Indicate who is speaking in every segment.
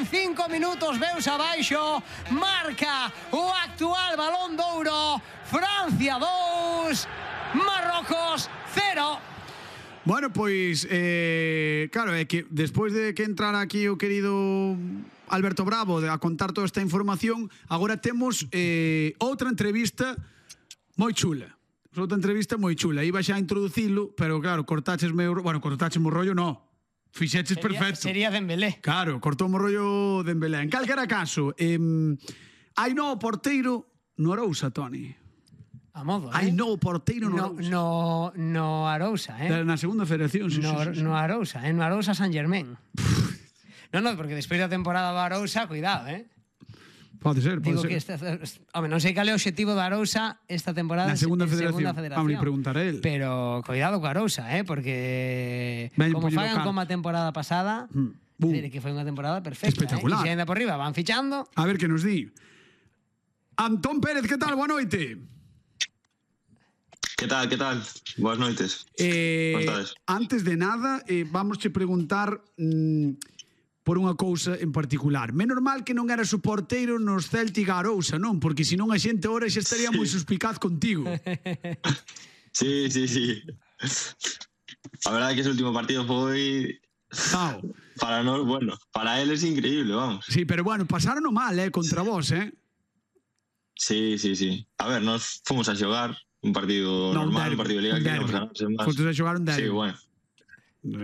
Speaker 1: en 5 minutos veus abaixo, marca o actual Balón de Ouro, Francia 2, Marrocos 0.
Speaker 2: Bueno, pois, claro, é que despois de que entrara aquí o querido Alberto Bravo a contar toda esta información, agora temos outra entrevista moi chula. Outra entrevista moi chula. Iba xa a introducilo, pero claro, cortáchesme o rollo, no. Fixeches perfecto.
Speaker 1: Sería Dembélé.
Speaker 2: Claro, cortou o rollo Dembélé. En calquera caso, hai novo porteiro no Arousa, Toni.
Speaker 1: A modo,
Speaker 2: Hai novo porteiro no Arousa.
Speaker 1: No Arousa,
Speaker 2: Na segunda federación, sí.
Speaker 1: No Arousa, no Arousa San Germán. No, porque despois da temporada do Arousa, cuidado,
Speaker 2: Pode ser.
Speaker 1: Digo que non sei cal é o objetivo do Arousa esta temporada
Speaker 2: na segunda federación. Vamos a preguntar a él.
Speaker 1: Pero cuidado co Arousa, porque como fagan como a temporada pasada, que foi unha temporada perfecta.
Speaker 2: Espectacular.
Speaker 1: E se ainda por riba van fichando.
Speaker 2: A ver que nos di. Antón Pérez, que tal? Boa noite.
Speaker 3: Que tal? Boas noites. Como estades?
Speaker 2: Antes de nada, vamos che preguntar por unha cousa en particular. Menos mal que non eras o porteiro nos Celtic Arousa, non? Porque senón a xente ahora xa estaría moi suspicaz contigo.
Speaker 3: Sí. A verdade é que ese último partido foi... Para nós, bueno, para eles increíble, vamos.
Speaker 2: Sí, pero bueno, pasaron mal, contra vos,
Speaker 3: Sí. A ver, nos fomos a xogar un partido normal, un partido de liga que non ganamos máis.
Speaker 2: Fomos a xogar un derbi.
Speaker 3: Sí, bueno.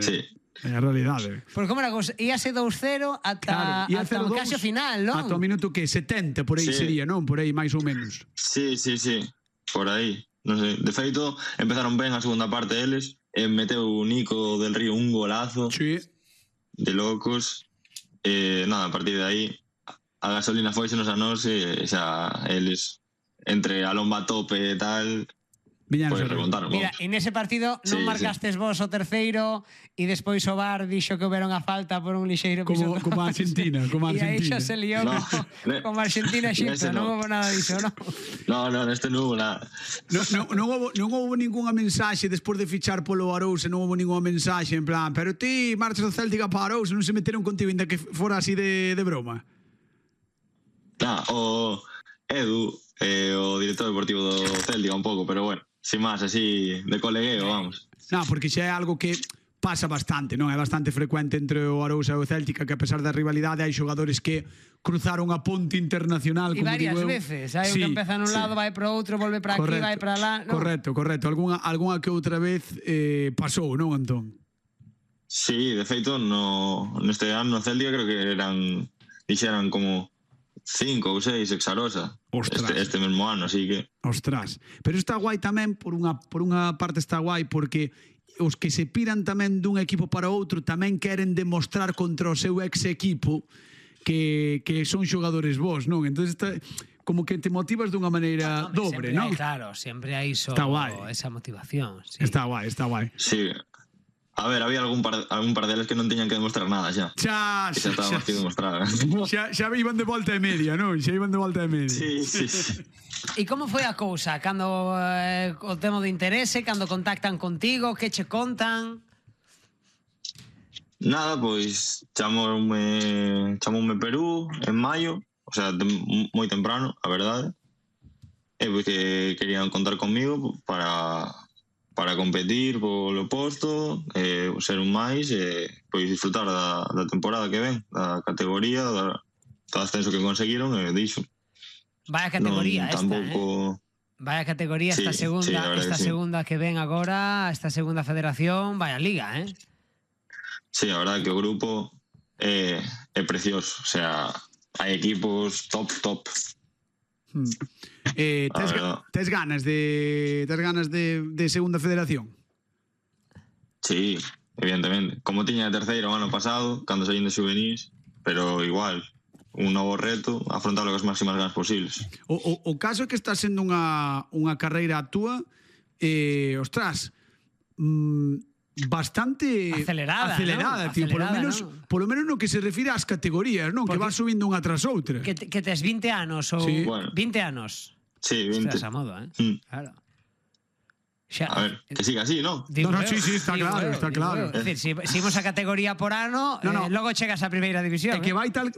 Speaker 3: Sí.
Speaker 2: É a realidade.
Speaker 1: Porque como era cosa, íase 2-0 ata o casi final, non?
Speaker 2: Ata o minuto que 70, por aí sería, non? Por aí, máis ou menos.
Speaker 3: Sí. Por aí. Non sei. De feito, empezaron ben a segunda parte deles, meteu o Nico del Río un golazo.
Speaker 2: Sí.
Speaker 3: De locos. Nada, a partir de aí, a gasolina foisenos a nós e xa eles, entre a lomba tope e tal... Pues preguntaron.
Speaker 1: Mira, en ese partido non marcastes vos o terceiro e despois o VAR dixo que houberon a falta por un lixeiro piso.
Speaker 2: Como a Argentina.
Speaker 1: E aí xa se liou como Argentina-Xipto. Non houve nada disso, non?
Speaker 3: No, neste non houve nada.
Speaker 2: Non houve ninguna mensaxe despois de fichar polo Arousa, non houve ninguna mensaxe en plan, pero ti marchas do Celtic para Arousa, non se meteron contigo ainda que fora así de broma.
Speaker 3: O Edu, o director deportivo do Celtic un pouco, pero bueno, sin máis, así, de colegueo, vamos.
Speaker 2: Non, porque xa é algo que pasa bastante, non? É bastante frecuente entre o Arousa e o Celtic, que a pesar da rivalidade hai xogadores que cruzaron a ponte internacional,
Speaker 1: como digo eu. E varias veces, hai un que empeza nun lado, vai para outro, volve para aquí, vai para lá.
Speaker 2: Correcto. Alguna que outra vez pasou, non, Antón?
Speaker 3: Sí, de feito, neste ano no Celtic creo que dixeran como 5 ou 6 ex-Arousa este mesmo ano, así que...
Speaker 2: Ostras, pero está guai tamén, por unha parte está guai, porque os que se piran tamén dun equipo para outro tamén queren demostrar contra o seu ex-equipo que son xogadores vos, non? Entón, como que te motivas dunha maneira dobre, non?
Speaker 1: Claro, sempre hai esa motivación.
Speaker 2: Está guai.
Speaker 3: Sí. A ver, había algún par deles que non teñan que demostrar nada xa.
Speaker 2: Xa
Speaker 3: estaba máis que demostrar.
Speaker 2: Xa iban de volta e media, non? Xa iban de volta e media.
Speaker 3: Sí.
Speaker 1: E como foi a cousa? Cando o tema de interese, cando contactan contigo, que che contan?
Speaker 3: Nada, pois chamoume Perú en maio, o sea, moi temprano, a verdade. E pois que querían contar comigo para competir polo posto, ser un máis e pois disfrutar da temporada que ven, da categoría, do ascenso que conseguiron e dixo.
Speaker 1: Vaya categoría Vaya categoría esta segunda que ven agora, esta segunda federación, vaya liga,
Speaker 3: Sí, a verdade que o grupo é precioso, o sea, hai equipos top.
Speaker 2: Tes ganas de segunda federación?
Speaker 3: Sí, evidentemente. Como tiña a terceira o ano pasado, cando saín de xuvenís, pero igual, un novo reto, afrontarlo con as máximas ganas posibles.
Speaker 2: O caso é que está sendo unha carreira túa, ostras, bastante
Speaker 1: acelerada,
Speaker 2: tío, polo menos no que se refire ás categorías, non? Que vas subindo unha tras outra.
Speaker 1: Que tes 20 anos ou 20 anos.
Speaker 3: Sí, 20.
Speaker 1: Estás a modo, Claro.
Speaker 3: A ver, que siga así, ¿no?
Speaker 2: Sí, está claro.
Speaker 1: É dicir, se imos a categoría por ano, logo chegas á primeira división.
Speaker 2: É que vai tal